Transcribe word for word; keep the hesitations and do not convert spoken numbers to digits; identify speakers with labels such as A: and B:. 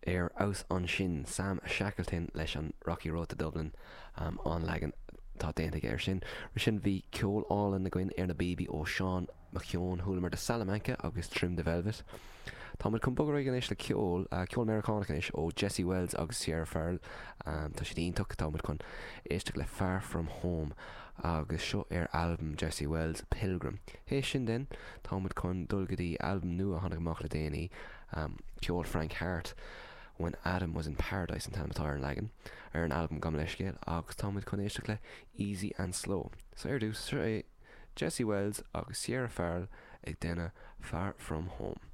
A: Ar fheabhas ansin, Sam Shackleton leis an Rocky Road to Dublin, um, an leagan atá déanta aige air sin. Roimhe sin bhí ceol álainn againn ar na bpíobaí ó Seán Mac Eoin, chualamar The Salamanca agus Trim the Velvet. Táimid chun bogadh ar aghaidh anois le ceol, uh, ceol Meiriceánach anois ó Jesse Wells agus Sierra Farrell. Um, tá siad iontach táimid chun éisteacht le Far From Home agus seo ar albam Jesse Wells Pilgrim. Théis sin den táimid chun dul go dtí albam nua a tháinig amach le déanaí um, ceol Frank Harte. When Adam was in Paradise an t-ainm atá ar an leagan ar an albam gabh mo leithscéal agus táimid chun éisteacht le Easy and Slow. So ar dtús seo é Jesse Wells agus Sierra Farrell ag déanamh Far From Home.